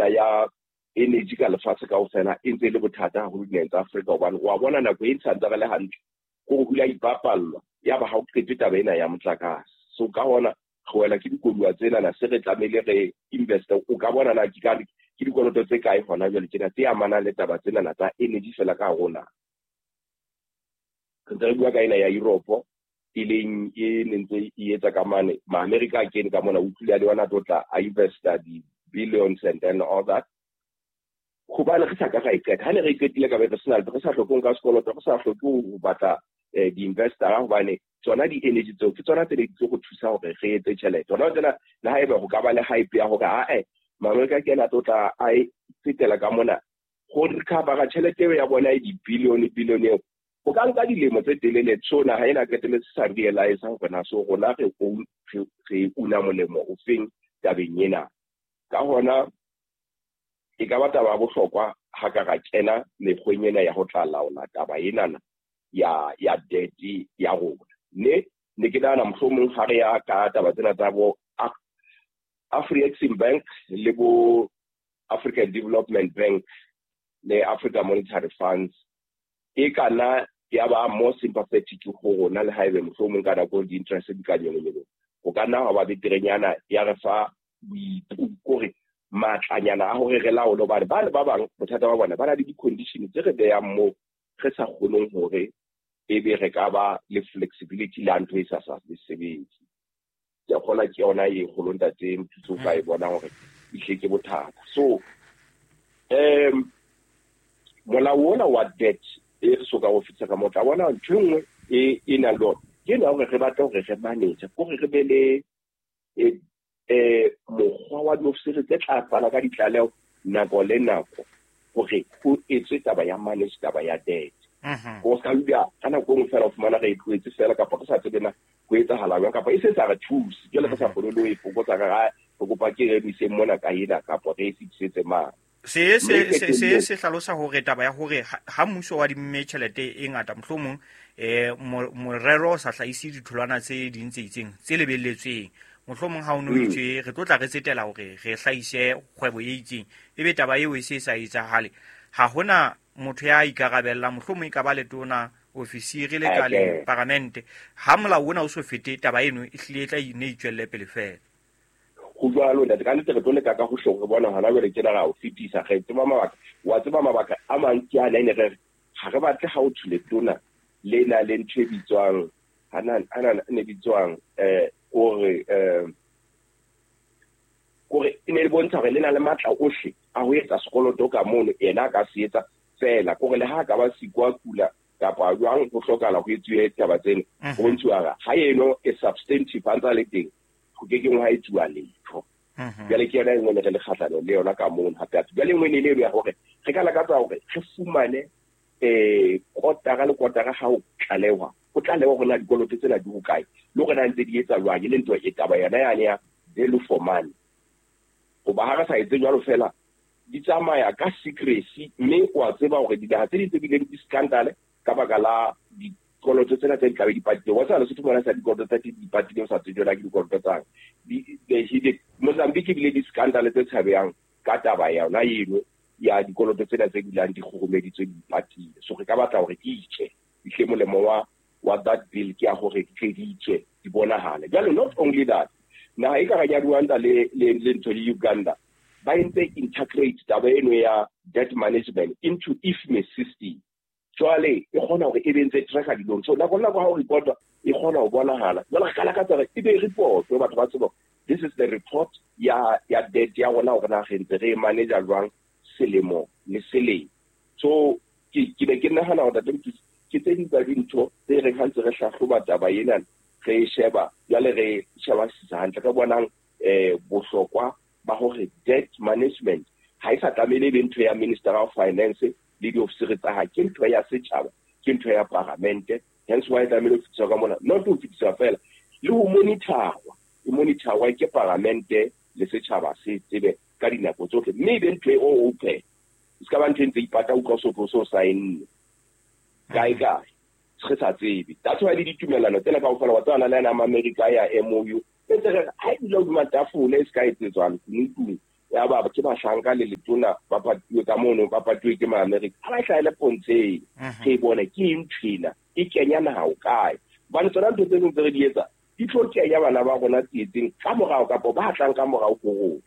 Ya energy ka lefatshe kaofela e ntse e le bothata haholo dinaheng tsa Afrika, hobane wa bona nako e ntshantse re le hantle ko ho hula ipapallwa ya ba ha o qete taba ena ya motlakase. So ka hona re wela ke dikoduwa tsenana, se re tlamehile re investe. O ka bona na ke ka ke dikoloto tse kae hona jwale tjena tse amanang le taba tsenana tsa energy fela ka rona. Re ntse re bua ka ena ya Europe, e leng e ne ntse e etsa ka mane Ma-America a kene ka mona, o tlile le yona tlo tla a investa di-billions and then all that, hobane re sa ka ra e qeta. Ha ne re e qetile, ka be re sena, re sa hloke ho nka sekoloto, re sa hloke ho batla di-investor, hobane tsona di-energy tseo ke tsona tse ne di tlo go thusa hore re etse tjhelete hona tsena. Le haeba ho ka ba le hype ya hore ae Maamerika ke ena tlo tla a e tsetela ka mona go recover tjhelete eo ya bona e di-billion billion eo, ho ka nka dilemo tse telele. So naha ena qetelletse sa realize hore na so rona re una molemo o feng tabeng ena. Ka hona e ka ba taba ya bohlokwa ha ka ra kena mekgweng ena ya ho tla laola taba enana ya debt ya rona. Ne ke nahana mohlomong ha re ya ka taba tsena tsa bo Afrexim Bank le bo African Development Bank le Africa Monetary Funds, e ka nna ya ba more sympathetic ho rona. Le haebe mohlomong ka nako di-interest di ka nyolonyolo, ho ka nna hwa ba beterenyana, ya re fa kore matlanyana a hore re laole, hobane ba le ba bang bothata ba bona ba na le di-condition tse re behang moo re sa kgoneng hore ebe re ka ba le flexibility le ha ntho e sa le sebetse. Ke a kgolwa ke yona e kgolo, ntate Mthutso, o ka e bona hore ehlile ke bothata. So molao ona wa debt e re soka go fetisa ka mo tla bona, ntho e nngwe e nang le ona ke ena hore re batle hore re manage kore re be le mokgwa wa diofisiri tse tla fana ka ditlaleho nako le nako hore ho etswe taba ya manage taba ya debt. Ho ska dula ka nako e nngwe fela o fumana re e tlohetse fela, kapa re sa tsebe na ho etsahala jwang, kapa e se sa re thuse jwale re sa kgone le ho e fokotsa. Re kopa ke re emiseng mona ka ena, kapa re e fetisetse mane. Se se hlalosa hore taba ya hore ha mmuso wa dimme tjhelete e ngata, mohlomong morero o sa hlahise ditholwana tse ding tse itseng tse lebelletsweng, mohlomong ha o no itswe re tlo tla re tsetela hore re hlahise kgwebo e itseng, ebe taba eo e se e sa etsahale, ha hona motho ya ikarabellang, mohlomong e ka ba letona, ofisiri le ka le paramente. Ha molao ona o so fete, taba eno e hlile e tla ne itswelle pele fela. Ho jwalo, ntate, ka nnete re tlo leka ka hohle re bona hona jwale tjena ra o fetisa. Re tseba mabaka, wa tseba mabaka a mang ke ana ene re ha re batle ha o thule tona le na le ntho e bitswang hana ne bitswang ore kore e ne le bontsha hore le na le matla ohle a ho etsa sekoloto ka mono, yena a ka se etsa fela, kore le ha ka ba siko a kula kapa jwang, ho hlokahala ho etsuwe taba tsena. Ho bontshuwa hore ha eno e substantive a ntsa le teng, ho ke keng ha etsuwa letho. Jwale ke yona e nngwe ne re le kgahlano le yona ka mono. Hape hape jwale e nngwe ne le eno ya hore re ka lakatsa hore re fumane kotara le kotara ha ho tlalehwa, ho tlalewa hore na dikoloto tsena di hokae le hore na ntse di etsa jwang, e le ntho e taba yona yane ya value for money. Hoba ha re sa etse jwalo fela, di tsamaya ka secrecy, mme wa tseba hore dinaha tse ding tse bileng di-scandal ka baka la dikoloto tsena tse di tlabe di patile, wa tseba Lesotho mona sa dikoloto tsa teng di patile, o sa tsebe jwale ke dikoloto tsang. Mozambique ebile di-scandal tse tshabehang ka taba yona eno ya dikoloto tsena tse dulang di kgurumeditswe, di patile. So re ka batla hore di itswe ehle, molemo wa that bill ke ya hore di tle di itswe, di bonahale. Jwale not only that, naha e ka reng ya Rwanda le ntho le Uganda ba entse integrate taba eno ya debt management into IFMIS system. Jwale e kgona hore e be ntse tracker dilong, so nako le nako ha o reporta e kgona ho bonahala. Jwale re ka lakatsa hore e be report, batho ba tsebe this is the report ya debt ya rona, hore na re ntse re e manage jwang selemo le selemo. So ke ne ke nahana hore, ntate Mthutsi, ke tse ding tsa dintho tse reng ha ntse re hlahloba taba ena, re e sheba jwale, re shebasisa hantle, re bonang bohlokwa ba hore debt management ha e sa tlamehile e be ntho ya Minister of Finance le diofisiri tsa hae, ke ntho ya setjhaba, ke ntho ya paramente. Hence why e tlamehile ho fetiswa ka mona, not ho fetiswa fela, le ho monitorwa, e monitorwa ke paramente le setjhaba se tsebe ka dinako tsohle, mme e be ntho e open, e se ka ba ntho e ntse ipata, utlwa o so saenne kae kae, re sa tsebe. That's why le ditumellano tsena kaofela, wa tseba, le yana America ya MOU e ntse re ha e dula hodima tafole, e se ka etsetswa lekunutung. Ya ba ke bahlanka le letona ba patuwe ka mono, ba patuwe ke ma-America. Ha ba hlahele pontsheng, re bone ke eng nthwena, e kenya naha ho kae. Hobane tsona ntho tse ding tse re di etsa, di tlo kenya bana ba rona tsietseng ka morao kapa ba tlang ka morao ho rona.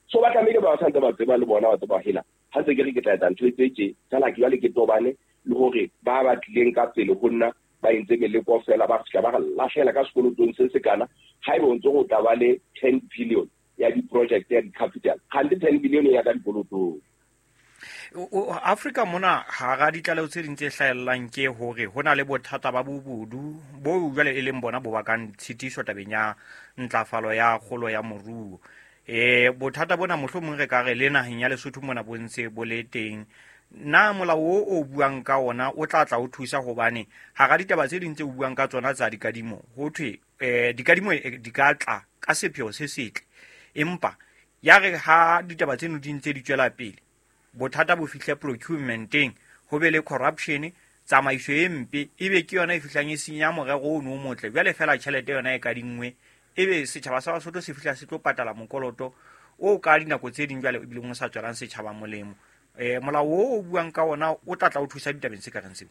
So ba tlamehile ba santse ba tseba le bona, ba tseba hela. Ha ntse ke re ke tla etsa ntho e tse tje, fela ke jwale ke tobane le hore ba batlileng ka pele ho nna ba entse meleko fela, ba fihla ba re lahlela ka sekolotong se sekana. Haeba o ntse o tla ba le 10 billion ya di-project ya di-capital, kgante 10 billion ya ka dikolotong. Afrika mona hara ditlaleho tse ding tse hlahellang ke hore ho na le bothata ba bobodu bo jwale e leng bona bo bakang tshitiso tabeng ya ntlafalo ya kgolo ya moruo. Bothata bona mohlomong re ka re le naheng ya Lesotho mona bo ntse bo le teng. Na molao o buang ka ona o tla tla o thusa, hobane hara ditaba tse ding tse o buang ka tsona tsa dikadimo, ho thwe dikadimo di ka tla ka sepheo se setle, empa ya re ha ditaba tseno di ntse di tswela pele, bothata bo fihle procurementeng, ho be le corruption, tsamaiso e mpe, ebe ke yona e fihlang e senya morero ono o motle. Jwale fela tjhelete yona e kadinngwe, ebe setjhaba sa Basotho se fihla se tlo patala mokoloto o ka dinako tse ding jwale ebileng o sa tswelang setjhaba molemo. Molao o buang ka ona o tla tla o thusa ditabeng tse ka reng seo?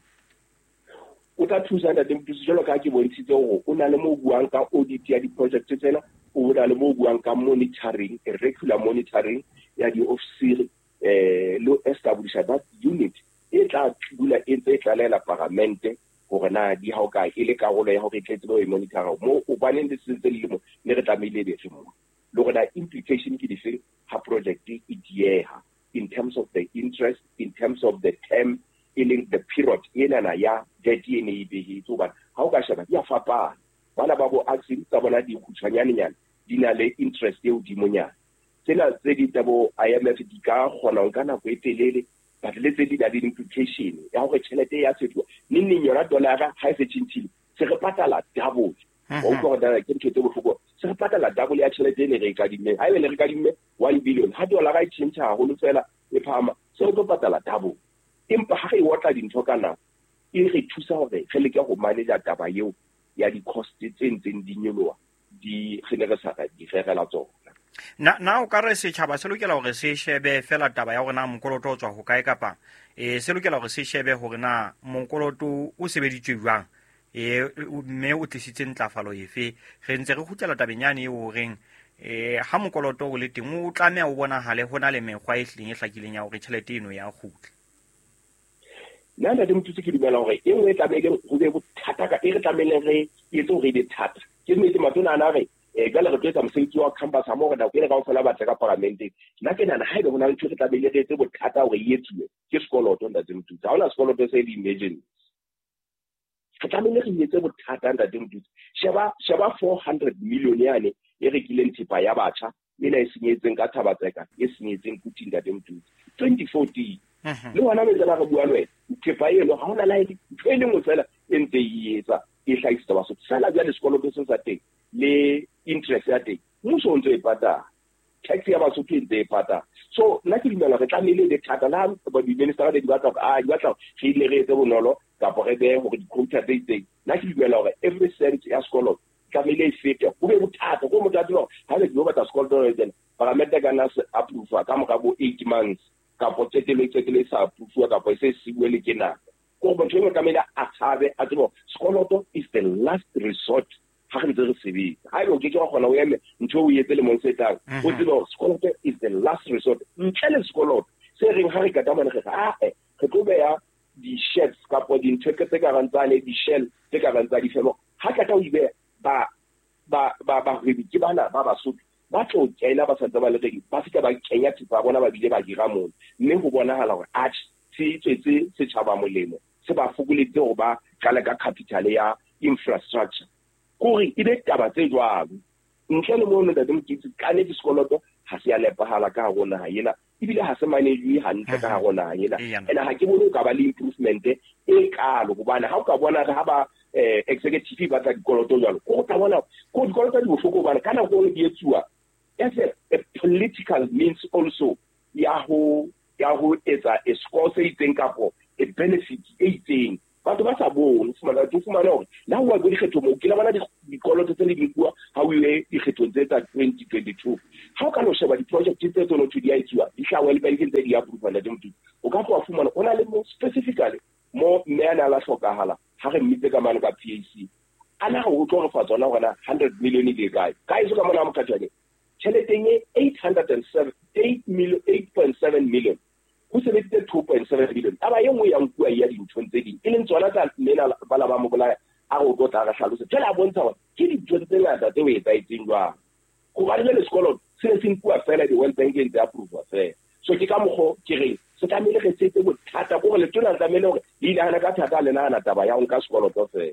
O tla thusa ntate Mothusi, jwalo ka ha ke bontshitse hore o na le mo buang ka audit ya di-project tsena, o na le mo buang ka monitoring, regular monitoring ya di-officer, le establish that unit e tla dula e ntse e tlalela paramente hore na di ha o kae, e le karolo ya hore e tle tsebe ho e monitor-a mo, hobaneng le sentse le le mo, ne re tlamehile e be re mo. Le hore na implication ke dife ha project e dieha in terms of the interest, in terms of the term, e leng the period enana ya debt e ne e behetswe. Hobane ha o ka sheba di a fapana, bana ba bo Axim tsa bona di kgutshwanyanenyana, di na le interest e hodimonyana. Tsena tse ding tsa bo IMF di ka kgona ho nka nako e telele, but le tse di na le implication ya hore tjhelete ya fetoha neng neng. Yona dollar-a ha e se tjhentjhile, se re patala double. Wa utlwa hore ke ntho tse bohloko, se re patala double ya tjhelete e ne re e kadimmeng. Ha ebe ne re kadimme 1 billion, ha dollar-a e tjhentjha haholo fela e phahama, se re tlo patala double. Empa ha re otla dintho ka nako, e re thusa hore re leke ho manage taba eo ya di-cost tse ntseng di nyoloha, di re ne re sa di rerela tsona. Na o ka re setjhaba se lokela hore se shebe fela taba ya hore na mokoloto o tswa hokae, kapa se lokela hore se shebe hore na mokoloto o sebeditswe jwang, mme o tlisitse ntlafalo efe? Re ntse re kgutlela tabeng yane eo horeng ha mokoloto o le teng, o tlameha o bonahale ho na le mekgwa e hlileng e hlakileng ya hore tjhelete eno ya kgutla. Nna ntate Mothusi ke dumela hore e nngwe e tlamehileng ho be bothata ka, e re tlamehileng re etse hore e be thata. Ke nnete matona ana re, jwale re tlo etsa mosebetsi wa campus ha mo hore nako ena kaofela ba tle ka paramenteng. Nna ke nahana haebe ho na le ntho e re tlamehile re etse bothata hore e etsuwe, ke sekoloto ntate Mothusi. Ha hona sekoloto se le emergency. Re tlamehile re etse bothata ntate Mothusi. Sheba 400 million yane e rekileng thepa ya batjha, ena e senyetseng ka Thabatseka, e senyetseng Kuting ntate Mothusi. 2014. Le hona metsi a re bua le wena, thepa eno ha hona le ntho e le nngwe fela e ntse e etsa, e hlahisetsa Basotho. Fela jwale sekoloto se sa teng le interest ya teng, mmuso o ntse e patala, tax ya Basotho e ntse e patala. So nna ke dumela re tlamehile e be thata. Le ha ba di-minister di batla hore, di batla hore re ile re etse bonolo kapa re behe hore di-quota tse itseng. Nna ke dumela hore every cent ya sekoloto tlamehile e fete, ho be bothata. Ko motho a tseba hore ha le tlo batla sekoloto le tsena, paramente ka nna se approve ka mora bo 8 months, kapo qetelo e sa approve kapo e se siuwe le ke nako. Ko motho e mongwe tlamehile a tshabe, a tsebe hore sekoloto is the last resort ha re ntse re sebetsa. Haeba o keke wa kgona o eme ntho o etse lemong se tlang, o tsebe hore sekoloto is the last resort. Ntle le sekoloto se reng ha re qeta mane re re, ae, re tlo beha di-sheds kapo dintho tse ka reng tsane, di-shell tse ka reng tsa difebo. Ha qeta ho di beha, bahwebi ke bana ba Basotho ba tlo kena ba santse ba le ready, ba fihla ba kenya thepa ya bona, ba bile ba hira mono. Mme ho bonahala hore atjhe, se tswetse setjhaba molemo, se ba fokoleditse hore ba qale ka capital ya infrastructure. Kore e be taba tse jwalo. Ntle le mono ntate Mothusi, ka nnete sekoloto ha se a nepahala ka hare ho naha ena, ebile ha se manage hantle ka hare ho naha ena. Ene ha ke bone o ka ba le improvement e kalo, hobane ha o ka bona ha ba executive ba tla dikoloto jwalo, ko tla bona ko dikoloto di bohloko, hobane ka nako e di etsuwa as a political means also ya ho etsa a score se itseng kapo a benefit e itseng. Batho ba sa bone, fumana, o fumana hore le ha o bua dikgetho moo, ke la bona dikoloto tse le di nkuwa ha o ile dikgethong tse tsa 2022. Ha o ka lo sheba di-project tse tsone thwe di a etsuwa, di hlaha World Bank ntse di approve, ntate Mothusi, o ka tloha fumana o na le mo specifically mo mme a ne a la hlokahala ha re mmitse ka mane ka PAC, a na o tlo re fa tsona hore na 100 million e le kae ka eso ka mona Mokhatjane. Tjheleteng e 807 8 million, 8.7 million, ho sebeditse 2.7 million. Taba e nngwe ya nkuwa ya dinthong tse ding, e leng tsona tsa mmena bala ba mo bolaya, a re o tlo tla re hlalose. Jwale a bontsha hore ke dintho tse ngata tse o etsahetseng jwang, hobane jwale sekoloto se ne se nkuwa fela di-World Bank e ntse approve fela. So ke ka mokgo ke reng se tlamehile re setse bothata ko gore letona le tlamehile hore le inahane ka thata, le nahana taba ya ho nka sekoloto fela.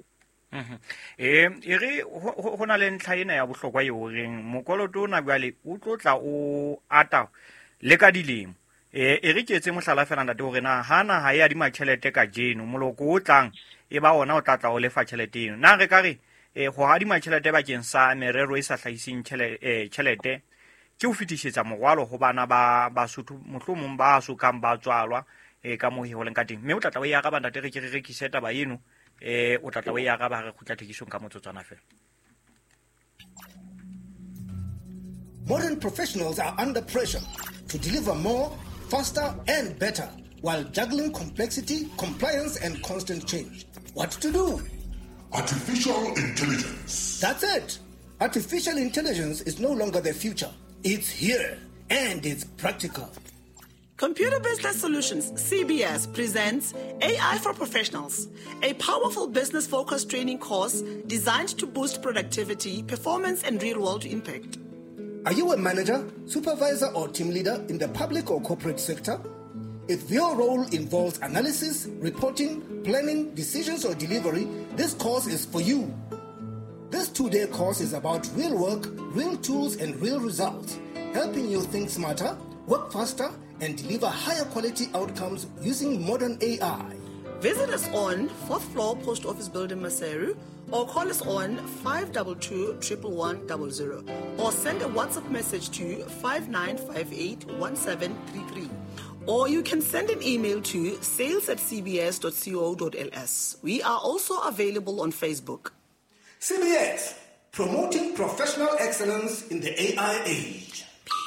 E re ho na le ntlha ena ya bohlokwa e horeng mokoloto ona jwale o tlo tla o ata le ka dilemo. E re ke etse mohlala fela, ntate, hore na ha naha e adima tjhelete kajeno, moloko o tlang e ba ona o tla tla o lefa tjhelete eno. Na re ka re ho adima tjhelete bakeng sa merero e sa hlahiseng tjhelete ke ho fetisetsa morwalo ho bana ba Basotho, mohlomong ba sokang ba tswalwa, ka moo ho leng ka teng? Mme o tla tla o e araba, ntate, re ke re rekise taba eno. O tla tla o e araba ha re kgutla thekisong ka motsotswana fela. Modern professionals are under pressure to deliver more, faster, and better while juggling complexity, compliance, and constant change. What to do? Artificial intelligence. That's it. Artificial intelligence is no longer the future. It's here, and it's practical. Computer Business Solutions, CBS, presents AI for Professionals, a powerful business focused training course designed to boost productivity, performance, and real world impact. Are you a manager, supervisor, or team leader in the public or corporate sector? If your role involves analysis, reporting, planning, decisions, or delivery, this course is for you. This 2-day course is about real work, real tools, and real results, helping you think smarter, work faster, and deliver higher quality outcomes using modern AI. Visit us on 4th floor Post Office Building, Maseru, or call us on 522 11100 or send a WhatsApp message to 5958 1733. Or you can send an email to sales@cbs.co.ls. We are also available on Facebook. CBS, promoting professional excellence in the AI age.